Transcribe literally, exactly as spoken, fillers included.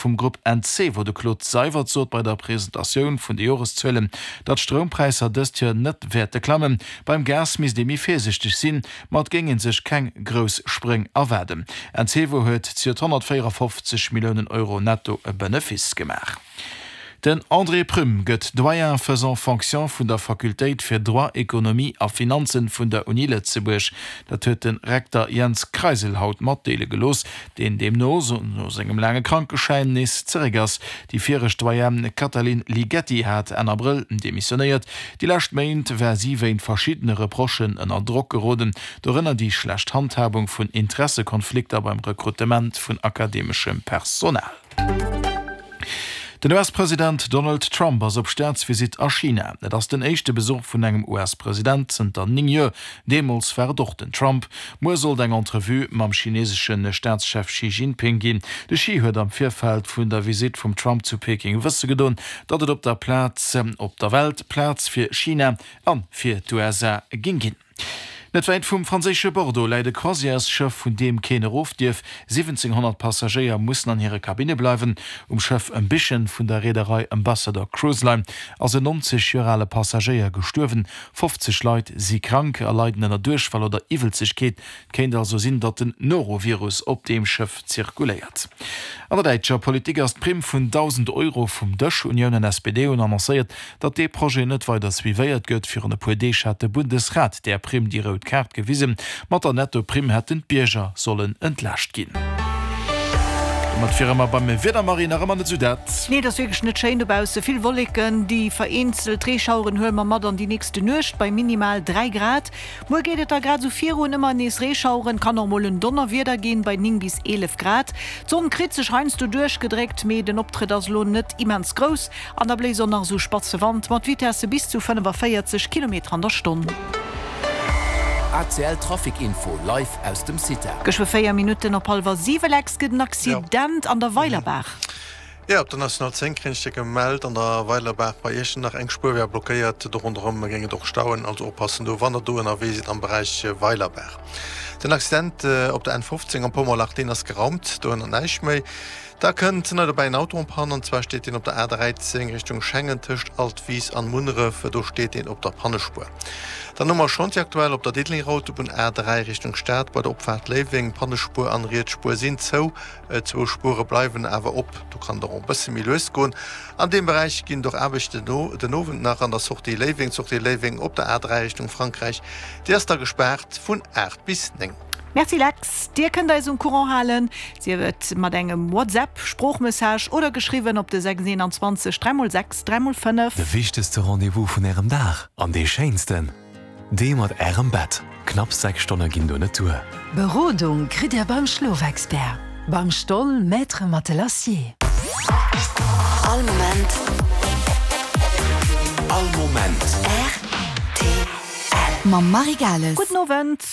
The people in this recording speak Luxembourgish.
vum Grupp Encevo, de Claude Seywert, sot bei der Presentatioun vun de Joreszuelen, datt d'Stroumpräisser dëst Joer net wäerte klammen. Beim Gas misst ee méi virsiichteg sinn, ma et géing ee sech keng grouss Spréng erwaarden. Encevo huet zejoert honnertvéierafofzeg Milliounen Euro netto Benefice gemaach. Den André Prüm gëtt Doyen faisant fonction vun der Fakultéit fir Droit, Ekonomie a Finanzen vun der Uni Lëtzebuerg. Dat huet de Rekter Jens Kreisel haut matdeele gelooss, deen deemno no sengem laange Krankeschäin nees zeréck ass. Déi viregt Doyenne Katalin Ligeti hat Enn Abrëll demissionéiert. Déi lescht Méint war si wéint verschiddene Reprochen ënner Drock geroden, dorënner déi schlecht Handhabung vun Interessekonflikter beim Rekrutement vun akademeschem Personal. Den U S-President Donald Trump ass op Staatsvisitt a China. Et ass den éischte Besuch vun engem U S-President zënter néng Joer. Deemools war et och den Trump. Muer sollt eng Entrevue mam chinesesche Staatschef Xi Jinping ginn. De Xi huet am Virfeld vun der Visitt vum Trump zu Peking wësse gedoen, datt et op der Plaz op der Welt Plaz fir China a fir d'U S A géing ginn. Net wäit vum franséische Bordeaux läit e Croisièresschëff, vun deem keen erof dierf. siwwenzénghonnert Passagéier mussen an hire Kabinne bleiwen. Um Schëff Ambition vun der Reederei Ambassador Cruise Line ass en nonzeg Joer ale Passagéier gestuerwen. fofzeg Leit si krank a leiden ënner Duerchfall oder Iwwelzegkeet. Et kéint also sinn, datt den Norovirus op deem Schëff zirkuléiert. An der däitscher Politik ass d'Primm vun dausend Euro vum Dësch. Unioun an S P D hunn annoncéiert, datt dee Projet net weider suivéiert gëtt. Virun e puer Deeg hat de Bundesrat där Primm déi rout Kaart gewisen. Mat der Netto-Primm hätten d'Bierger sollen entlaascht ginn. Domat wiere mer beim Wieder, Marie, nach ëmmer net esou dat. Nee, et ass wierklech net schéin dobausse. Vill Wolleken, déi vereenzelt Reeschaueren huele mer mat an déi nächste Nuecht bei minimal dräi Grad. Muer geet et da grad esou virun, ëmmer nees Reeschaueren, kann och mol en Donnerwieder ginn bei néng bis eelef Grad. D'Sonn kritt sech heiansdo duerchgedréckt, mee den Optrëtt ass elo net immens grouss an da bléist och nach esou spatze Wand mat Vitesse bis zu fënnefaféierzeg Kilometer an der Stonn. A C L Trafic Info live aus dem CITA. Geschwë véier Minutten op hallwer siwe, Lex, gëtt en Accident an der Weilerbaach. Jo, op der National zéng kréien ech gemellt, an der Weilerbaach bei Iechternach eng Spuer wär blockéiert. Do ronderëm géing et och stauen, also oppassen do, wann der do ënnerwee sidd am Beräich Weilerbaach. Den Accident op der N fofzéng am Pommerlach, deen ass geraumt, do ënnert näischt méi. Da kënnt nei dobäi en Auto en panne, an zwar steet deen op der A dräizéng Richtung Schengen tëscht Altwis an Munneref, do steet deen op der Pannespuer. Dann hu mer Chantier aktuell op der Diddelenger Autobunn A dräi Richtung Stad bei der Opfaart Léiweng, Pannespuer an riets Spuer sinn zou, zwou Spuere bleiwen awer op, do kann et och e bësse méi lues goen. An deem Beräich ginn et och Aarbechten den Owend nach an der Sortie Léiweng, Sortie Léiweng op der A dräi Richtung Frankräich, déi ass da gespaart vun aacht bis néng. Merci Lex. Dir kënnt eis um Courant halen, sief et mat engem WhatsApp, Sproochmessage oder geschriwwen op de sechs eenanzwanzeg dräi mol sechs dräi mol fënnef. De wichtegste Rendez-vous vun Ärem Dag an dee schéinsten, dee mat Ärem Bett. Knapp sechs Stonne ginn do net duer. Berodung kritt Dir beim Schlofexpert, beim Stoll Maître Matelassier. All Moment. All Moment. R T L. Mam Marie Gales. Gudden Owend.